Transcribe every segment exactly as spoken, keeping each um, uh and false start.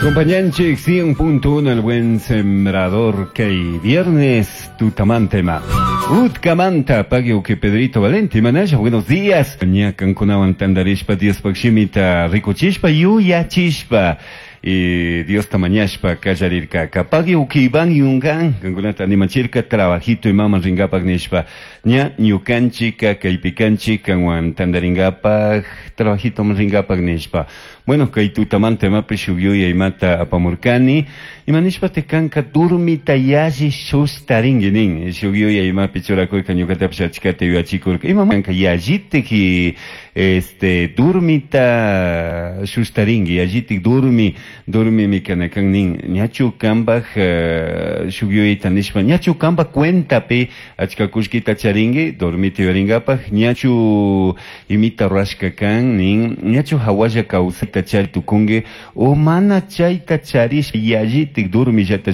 Acompañanchik cien punto uno, El Buen Sembrador, kay viernes tutamantema. Utkamanta, pagui que Pedrito Valente, manaya, buenos días. Ña kankunawan tandarishpa, Diospaj shimita rikuchishpa, yuyachishpa y Diosta mañashpa kallarirka. Pagui uki Iván yungan, kankunata animachirka, trabajito imaman ringapak nishpa. Ña ñukanchika, kaypi kanchik, kanwan tandaringapak, trabajito ringapak nishpa. Bueno, kay tutamanta imapi shuk yuyay imata apamurkani. Ima nishpa te kanka durmita yalli shustaringi nin. Shuk yuyay imapi churakurka, ñukatapish achkata yuyachikurka. Ima kanka yallitik este durmita shustaringi, yallitik durmi, durmimi kanakan nin. Ñachu kambaj uh, shuk yuyayta nishpa, ñachu kambaj cuentapi achka kullkita charingi, dormita yuyaringapak, ñachu imita rurashka kan nin, ñachu hawalla kawsayta chari tukungi, o mana chayta charish yallitik durmillata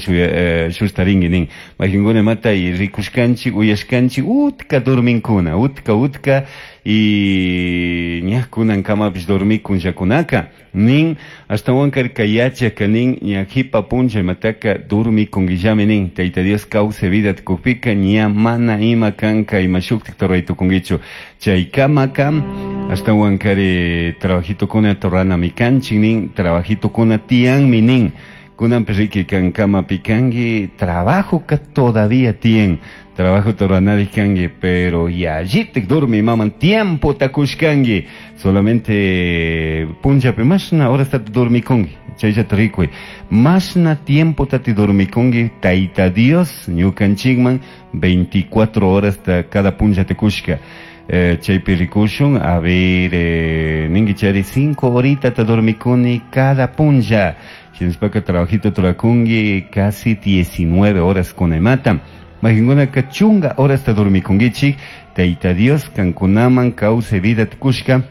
shustaringi nin. Maykankuna mata y rikushkanchik, uyashkanchik, utka dorminkuna, utka, utka, y ña kunankamapish dormikunllakunaka nin. Ashtawankari yachaka nin, ña jipa punlla imataka dormikunguillami nin. Tayta Dios kawsay vida tukukpika ña mana ima kanka ima shuktik ruray tukunguichu. Chaykamaka ashtawankari trabajitokuna ruranami kanchik nin, trabajitokuna tiyanmi nin. Kunanpi riki kankamapi kanki, trabajo ka todavía tiyan, trabajo ruranari kanki, pero yallitik dormi maman tiempo takushkanki. Solamente punllapi mashna horasta dormikunki, chayllata rikuy, mashna tiempo tati dormikunki. Tayta Dios ñukanchikman veinticuatro horas cada punlla te kushka. eh, chaypi rikushun, a ver, eh, ningi chari cinco horita ta dormikuni cada punlla. Shinashpaka trabajito turakungi casi diecinueve horas kunaymata. Maykankunaka chunga horas ta dormikungichik. Tayta Dios kankunaman kawsay vida kushka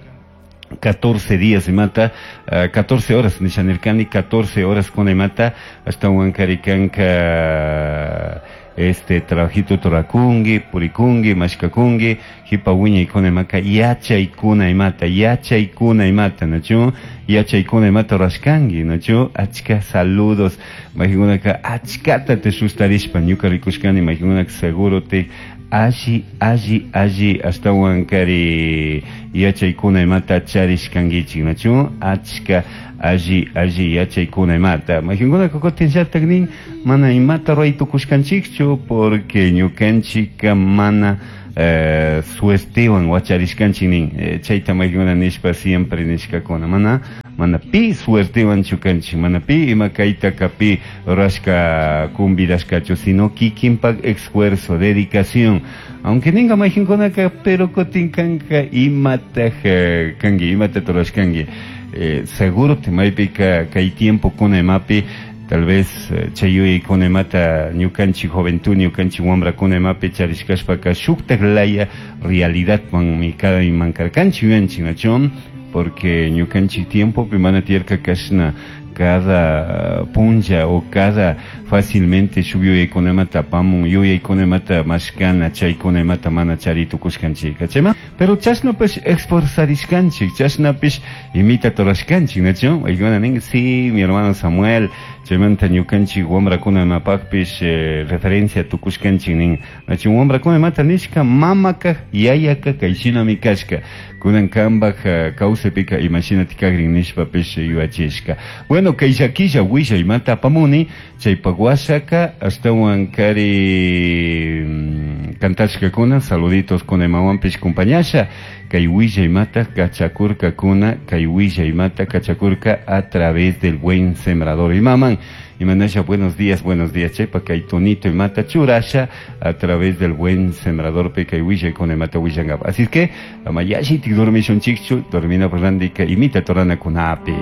catorce días imata, uh, catorce horas nishanirkani, catorce horas kunaymata. Ashtawankari kanka este trabajito turakungi, purikungi, mashkakungi, jipa wiñaykuna imaka yachaykuna imata, yachaykuna imata, nachu yachaykuna imata rurashkanki, nachu achka saludos. Maykankunaka achkata te sustarishpa ñuka rikushkani, maykankunaka seguro te alli, alli, alli ashtawankari yachaykuna imata charishkankichik, nachu achka alli, alli yachaykuna imata. Maykankunaka kutinllatak nin mana imata ruray tukushkanchikchu porque ñukanchika mana eh, suertewan wacharishkanchik nin. eh, chayta maykankuna nishpa siempre nishkakuna, mana mana pi suertewan chukanchik, mana pi ima kaytaka pi rurashka convidashkachu, sino kikinpak esfuerzo, dedicación. Aunque ninga maykankunaka, pero kutin kanka imataj eh, kanki, imata rurashkanki, eh, seguro te maypika kay tiempo kuna imapi tal vez eh, chay yuyaykuna imata ñukanchik juventud, ñukanchik wambrakuna imapi charishkashpaka shuktak laya realidadmanmi kayman karkanchik yuyanchik, nachu porque ñukanchik tiempopi mana tiyarka kashna cada punlla o cada fácilmente shuk yuyaykuna imata apamun, yuyaykuna imata mashkana, chaykuna imata mana chari tukushkanchika chayma, pero chashnapish esforzarishkanchik, chashnapish imita rurashkanchik, nachu paykuna nin. Sí, mi hermano Samuel, chaymanta ñukanchik wambrakuna imapakpish eh, referencia tukushkanchik nin, nachu wambrakuna imata nishka mamaka yayaka kayshinami kashka, kunan kambaj uh, kawsaypika imashinati kakrin nishpapish yuyachishka. Bueno, kay llakilla willay imata apamuni. Chaypak washaka ashtawan kari mm, kantashkakuna saluditos kuna imawanpish compañasha. Kay willay imata kachakurkakuna, kay willay imata kachakurka a través del Buen Sembrador imaman. Imanasha, buenos días, buenos días, chaypa kay tonito imata churasha a través del Buen Sembrador pe kay willay kuna imata willankapa. Así es que ama yallitik dormishunchikchu, dormina randika imita torana kunapi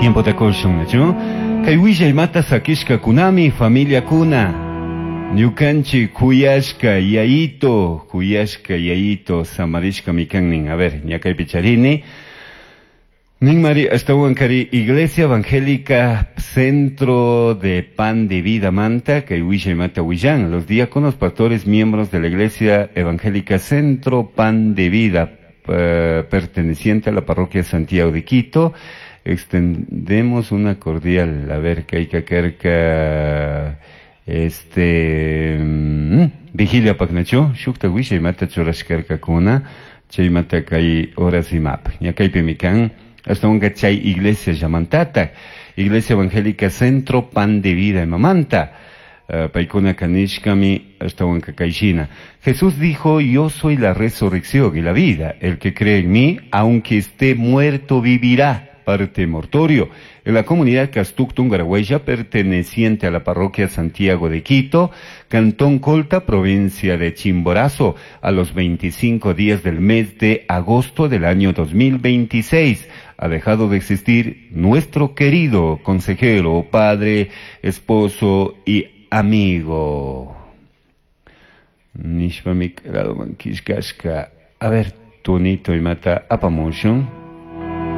tiempo takushun, nachu kay willay imata sakishka kunami familia kuna ñukanchik kuyashka yayito, kuyashka yayito samarishkami kan nin. A ver, ña kaypi charini. Nin mari ashtawankari Iglesia Evangélica Centro de Pan de Vida manta kay willay mata willan los diáconos, pastores, miembros de la Iglesia Evangélica Centro Pan de Vida, eh, perteneciente a la parroquia Santiago de Quito. Extendemos una cordial, a ver, kayka karka, este, mm, vigilia paknachu, shukta wishay mata churashkarkakuna, chaymanta kay horas imap. Ña kaypimi kan, ashtawanka chay iglesia llamantatak, Iglesia Evangélica Centro Pan de Vida imamanta. Uh, paykuna kanishkami ashtawanka kayshina. Jesús dijo, yo soy la resurrección y la vida. El que cree en mí, aunque esté muerto, vivirá. Parte mortorio. En la comunidad Castuctun Garahuella, perteneciente a la parroquia Santiago de Quito, Cantón Colta, provincia de Chimborazo, a los veinticinco días del mes de agosto del año dos mil veintiséis. Ha dejado de existir nuestro querido consejero, padre, esposo y amigo. Nishpamik A ver, Tunito y mata apamushun.